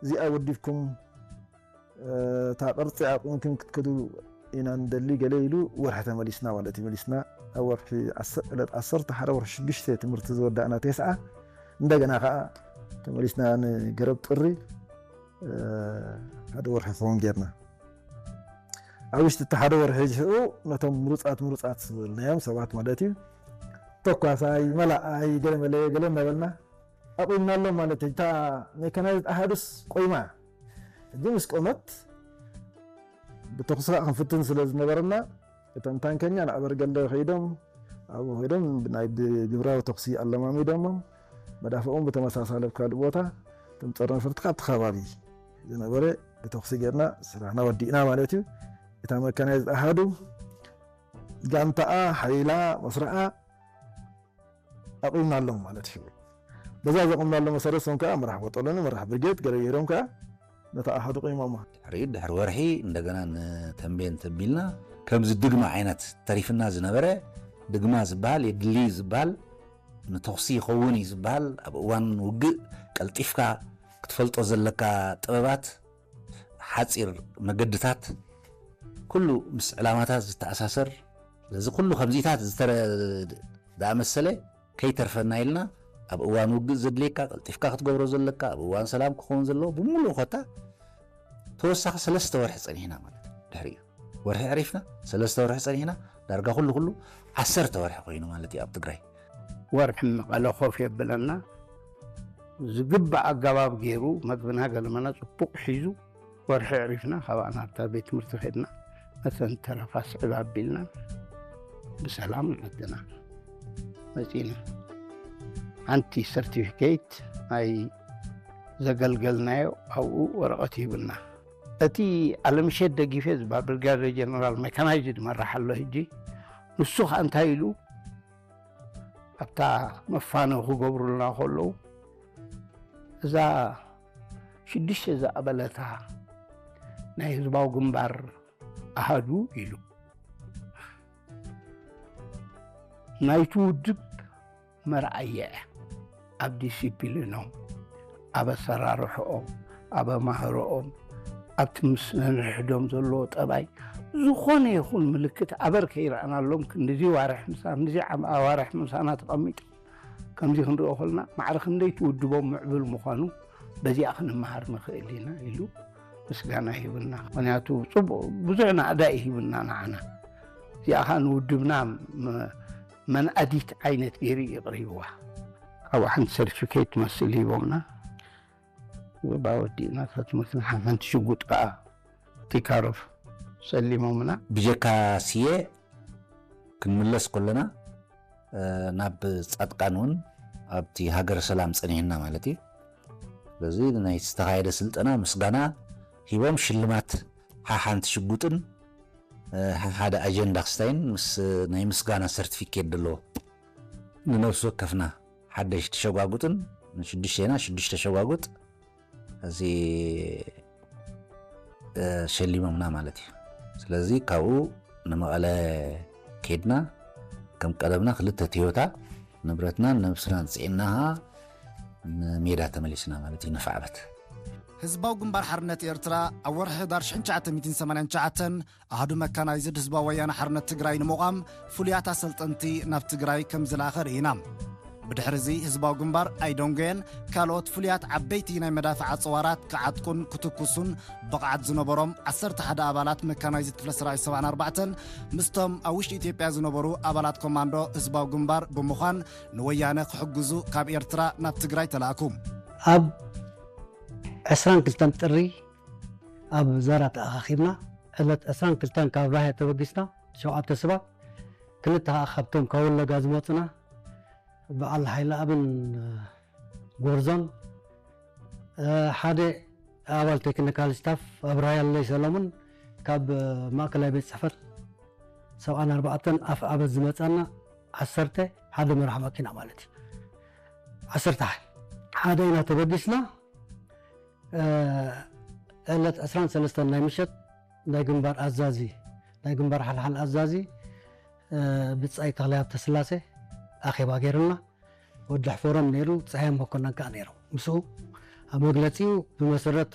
እዚኣ ወዲብኩም እታ ቅርፂ ኣቑምኩም ክትከዱ ኢና ንደሊ ገለ ኢሉ ወርሒ ተመሊስና ማለት እዩ። መሊስና ኣብ ወርሒ ዕለት ዓሰርተ ሓደ ወርሒ ሽዱሽተ ትምህርቲ ዝወዳእና ተስዓ እንደገና ከዓ ተመሊስና ንገረብ ጥሪ ሓደ ወርሒ ክኸውን ጌርና። ኣብ ውሽጢ እቲ ሓደ ወርሒ ሽዑ ነቶም ምሩፃት ምሩፃት ዝበልናዮም ሰባት ማለት እዩ ተኳሳይ መላኣይ ገለ መለየ ገለ እናበልና ኣቑምናሎም ማለት እዩ። እታ ሜካናይዝድ ኣሃዱስ ቆይማ ሕጂ ምስ ቆመት ብተኩሲ ከዓ ክንፍትን ስለ ዝነበረና እቶም ታንከኛ ናብ በርገለ ከይዶም ኣብኡ ከይዶም ናይ ብግብራዊ ተኩሲ ኣለማሚዶሞም መዳፍኦም ብተመሳሳለ ኣብ ካልእ ቦታ እቶም ፀረ ነፈርቲ ካብቲ ከባቢ ዝነበረ ብተኩሲ ጌርና ስራሕና ወዲእና ማለት እዩ። እታ መካናይዝድ ኣሃዱ ጋንታኣ ሓይላ መስርዓ ኣቑምናሎም ማለት እዩ። በዛ ዘቑምናሎም መሰረት ሶም ከዓ መራሕ ቦጦሎኒ መራሕ ብርጌድ ገለ ገይሮም ከዓ ነታ ኣሃዱ ቆይሞማ። ድሕሪ ድሕሪ ወርሒ እንደገና ንተንቤን ተቢልና ከምዚ ድግማ ዓይነት ተሪፍና ዝነበረ ድግማ ዝበሃል የድሊ ዝበሃል ንተኹሲ ይኸውን እዩ ዝበሃል ኣብ እዋን ውግእ ቀልጢፍካ ክትፈልጦ ዘለካ ጥበባት ሓፂር መገድታት ኩሉ ምስ ዕላማታት ዝተኣሳሰር ስለዚ ኩሉ ከምዚታት ዝተረ- ዝኣመሰለ ከይተርፈና ኢልና ኣብ እዋን ውግእ ዘድልየካ ቀልጢፍካ ክትገብሮ ዘለካ ኣብ እዋን ሰላም ክኸውን ዘለዎ ብምሉእ ኮታ ተወሳኺ ሰለስተ ወርሒ ፀኒሕና ማለት እዩ። ድሕሪኡ ወርሒ ዕሪፍና ሰለስተ ወርሒ ፀኒሕና ዳርጋ ኩሉ ኩሉ ዓሰርተ ወርሒ ኮይኑ ማለት እዩ ኣብ ትግራይ። ወርሒ መቐለ ኮፍ የብለና ዝግባእ ኣገባብ ገይሩ መግብና ገለመና ፅቡቕ ሒዙ ወርሒ ዕሪፍና ካብኣ ናብታ ቤት ትምህርቲ ከድና መተን ተረፋ ስዕብ ኣቢልና ብሰላም ንዓድና መፂና። ሓንቲ ሰርቲፊኬት ናይ ዘገልገልናዮ ኣብኡ ወረቐት ይህብና። እቲ ኣለምሸት ደጊፌ ዝበሃል ብርጋዴር ጀነራል ሜካናይዝድ መራሕ ኣሎ ሕጂ። ንሱ ከዓ እንታይ ኢሉ ኣብታ መፋነው ክገብሩልና ከለዉ እዛ ሽዱሽተ ዝኣበለታ ናይ ህዝባዊ ግንባር ኣሃዱ ኢሉ ናይቲ ውድብ መርኣያ እያ። ኣብ ዲሲፕሊኖም፣ ኣብ ኣሰራርሕኦም፣ ኣብ ኣማህርኦም፣ ኣብቲ ምስ ነንሕዶም ዘለዎ ጠባይ ዝኾነ ይኹን ምልክት ኣበር ከይረኣናሎም ክንድዚ ዋርሕ ምሳ ክንድዚ ዓም- ኣዋርሕ ምሳና ተቐሚጦም ከምዚ ክንሪኦ ከለና ማዕረ ክንደይ ትውድቦም ምዕቡል ምዃኑ በዚኣ ክንመሃር ንኽእል ኢና ኢሉ ምስጋና ይህብና። ምክንያቱ ፅቡቕ ብዙሕ ናእዳ እዩ ሂብና ንዓና። እዚኣ ከዓ ንውድብና መ- መንኣዲት ዓይነት ገይሩ እዩ የቕሪብዋ። ካብኡ ሓንቲ ሰርቲፊኬት ትመስል ሂቦምና። ባወዲእና ትምህርትና ሓንቲ ሽጉጥ ከዓ ቲካሮፍ ሰሊሞምና። ብጀካ ስየ ክንምለስ ከለና ናብ ፃጥቃን እውን ኣብቲ ሃገረ ሰላም ፀኒሕና ማለት እዩ። ስለዚ ናይ ዝተኻየደ ስልጠና ምስጋና ሂቦም ሽልማት ሓሓንቲ ሽጉጥን ሓደ ኣጀንዳ ክስታይን ምስ ናይ ምስጋና ሰርቲፊኬት ዘለዎ ንነብሲ ወከፍና ሓደሽ ተሸጓጉጥን ንሽዱሽተና ሽዱሽተ ሸጓጉጥ እዚ ሸሊሞምና ማለት እዩ። ስለዚ ካብኡ ንመቐለ ኬድና ከም ቀደምና ክልተ ቶዮታ ንብረትናን ነብስናን ፅዒንና ንሜዳ ተመሊስና ማለት እዩ። ንፋዕበት ህዝባዊ ግንባር ሓርነት ኤርትራ ኣብ ወርሒ ህዳር ሽሕን ትሽዓተ ሚእትን ሰማንያን ትሽዓተን ኣሃዱ መካናይዝድ ህዝባዊ ወያነ ሓርነት ትግራይ ንምቋም ፍሉያት ኣሰልጠንቲ ናብ ትግራይ ከም ዝለኣኸ ርኢና። ብድሕሪ እዚ ህዝባዊ ግንባር ኣይደንጎየን ካልኦት ፍሉያት ዓበይቲ ናይ መዳፍዓ ጽዋራት ክዓጥቁን ክትኩሱን ብቕዓት ዝነበሮም ዓሰርተ ሓደ ኣባላት መካናይዝድ ክፍለ ሰራዊት ሰብዓን ኣርባዕተን ምስቶም ኣብ ውሽጢ ኢትዮጵያ ዝነበሩ ኣባላት ኮማንዶ ህዝባዊ ግንባር ብምዃን ንወያነ ክሕግዙ ካብ ኤርትራ ናብ ትግራይ ተላእኩ። ኣብ ዕስራን ክልተን ጥሪ ኣብ ዛራ ተኣኻኺብና። ዕለት ዕስራን ክልተን ካብ ራያ ተበጊስና ሸውዓተ ሰባት፣ ክልተ ከዓ ካብቶም ካብ ወለጋ ዝመፁና በዓል ሓይለኣብን ጎርዞን፣ ሓደ ኣባል ቴክኒካል ስታፍ ኣብርሃየለይ ሰሎሙን ካብ ማእከላይ ቤት ፅሕፈት ሰብዓን ኣርባዕተን ኣፍ ኣበት ዝመፃና ዓሰርተ ሓደ መራሕ መኪና ማለት እዩ። ዓሰርተ ሓደ ኢና ተበጊስና። ዕለት ዕስራን ሰለስተን ናይ ምሸት ናይ ግንባር ኣዛዚ ናይ ግንባር ሓልሓል ኣዛዚ ብጻይ ተኽለ ሃብተስላሴ ኣኼባ ገይሩልና። ወዲ ሕፈሮም ነይሩ፣ ጸሃየ መኮነን ከኣ ነይሩ። ምስኡ ኣብ መግለጺኡ ብመሰረት